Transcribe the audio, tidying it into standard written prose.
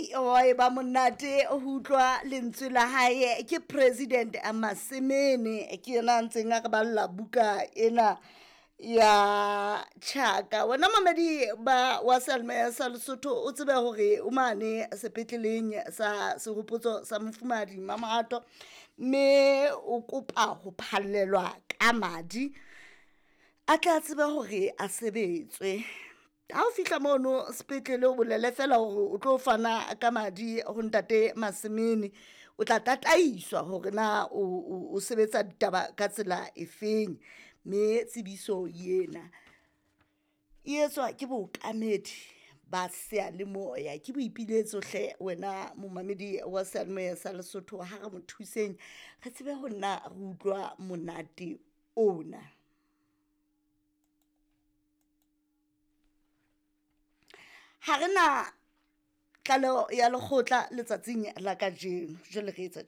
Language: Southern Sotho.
Hei, wa e ba monate ho utlwa lentswe la hae. Ke President Masemene, ke yena a ntseng a re balla buka ena ya Tjhaka. Wena mamedi ba wa seyalemoya sa Lesotho, o tsebe hore o mane sepetleleng sa Sehopotso sa Mofumahadi Mamohato, mme o kopa ho phallelwa ka madi a tla tsebe hore a sebetswe. Ha o fihla mono sepetlele, o bolele fela hore o tlo fana ka madi ho ntate Masemene, o tla tataiswa hore na o sebetsa ditaba ka tsela efeng. Mme tsebiso ena e etswa ke bookamedi ba seyalemoya. Ke boipiletso hle wena momamedi wa seyalemoya sa Lesotho, ha re mo thuseng re tsebe ho nna re utlwa monate ona. Ha re na tlaleho ya lekgotla letsatsing la kajeno, jwale re etsa tje.